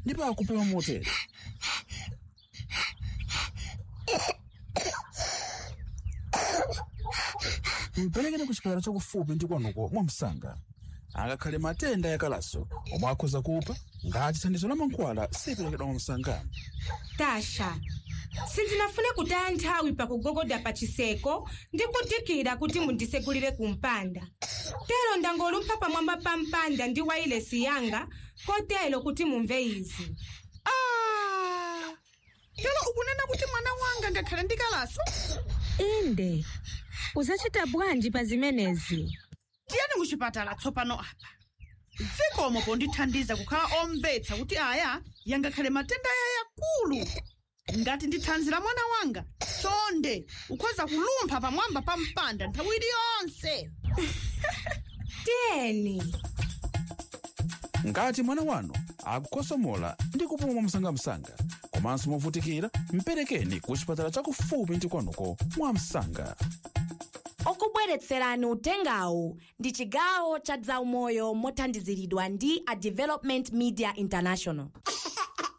Ndipo akupuma motere. Mperekeni ku chipatala chakufupi ndi kwanuko mwamsanga. Angakhale matenda yakalaso omwe akhoza kupha ngati thandizo la mankhwala siperekedwa mwamsanga. Tasha, sindinafune kutaya nthawi pakugogoda pa chiseko ndi kudikira kuti mundisegulire kumpanda. Tero ndangolumpha pamwamba pa mpanda ndi wailesi yanga kotero kuti mumve izi. Ah! Tero ukunena kuti mwana wanga ngakhale ndi kalaso? Inde, uzacita bwanji pa zimenezi? Tiyeni kuchipatala tsopano apa. Zikomo pondithandiza kukhala omvetsa kuti aya yangakhale matenda yayakulu. Ngati ndi thanzi la mwana wanga, chonde ukhoza kulumpha pamwamba pa mpanda nthawi iliyonse. Tiyeni. Ngati mwana wanu akukosomola ndi kupuma mwamsangamsanga komanso movutikira, mperekeni ku chipatala chakufupi ndi kwanuko mwamsanga. Okubweretserani utengawu ndi chigawo cha zaumoyo mothandiziridwa ndi a Development Media International.